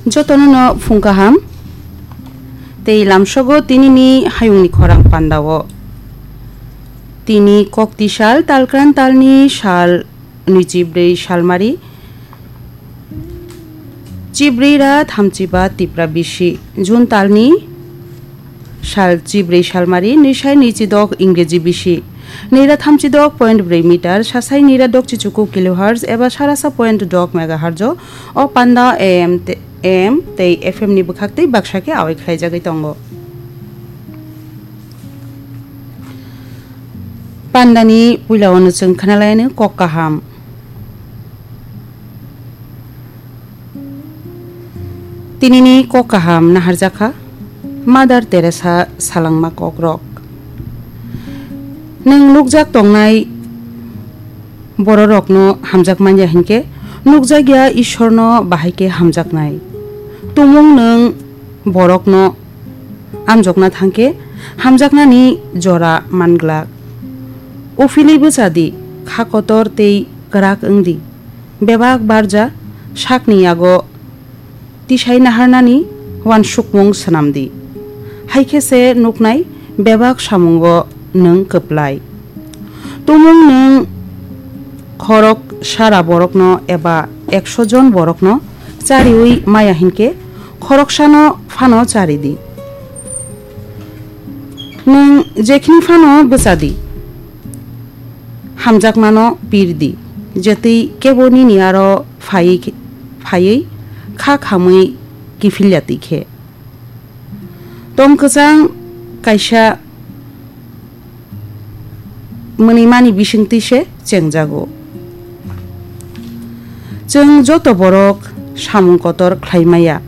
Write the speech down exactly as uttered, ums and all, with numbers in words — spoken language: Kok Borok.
Jotono no phung kaham. Tei lamsogo tinini hayungni khorang pandao. Tini kokti sal, talkran talni sal nwichi brwi salmari, chibrwi ra thamchi ba tipra bisi. June talni sal chibrwi salmari, nwisai nwichi dok Ingreji bisi. Nira thamchi dok point brwi meter, sasai nira dok chichuku kilohertz eba sarasa point dok megahertz o panda A M te-, A M tei F M ni bwkhak tei baksa khe awai khlaijagwi tongo. Pandani puila ono chwng khnalaino kok kaham. Tinini kok kaham naharjakha Mother Teresa salangma kokrok. Nwng nukjak tongnai bororokno hamjak manya hinkhe, nukjakya Ishorno bahai khe hamjaknai. Tumung nwng borokno amjokna thangkhe, hamjaknani jora manglak. Uphilwi bwchadi, kha kotor tei kwrak wngdi. Bebak barja sakni yago tisai naharnani uansukmung swnamdi. Hai khe se nuknai bebak samungo nwng kwplai. Tumung nwng khorok sara borokno eba ekso jon borokno chariwi maya hinkhe, khoroksano phano charidi. Nwng jekhini phano bwchadi, hamjakmano pirdi, jetwi kebo nini aro phaiwi khe-, phaiwi kha khamwi kiphilya twi khe. Tong kwchang kaisa mwnwimani bisingtwi se chengjago. Chwng joto borok samung kotor khlai maya,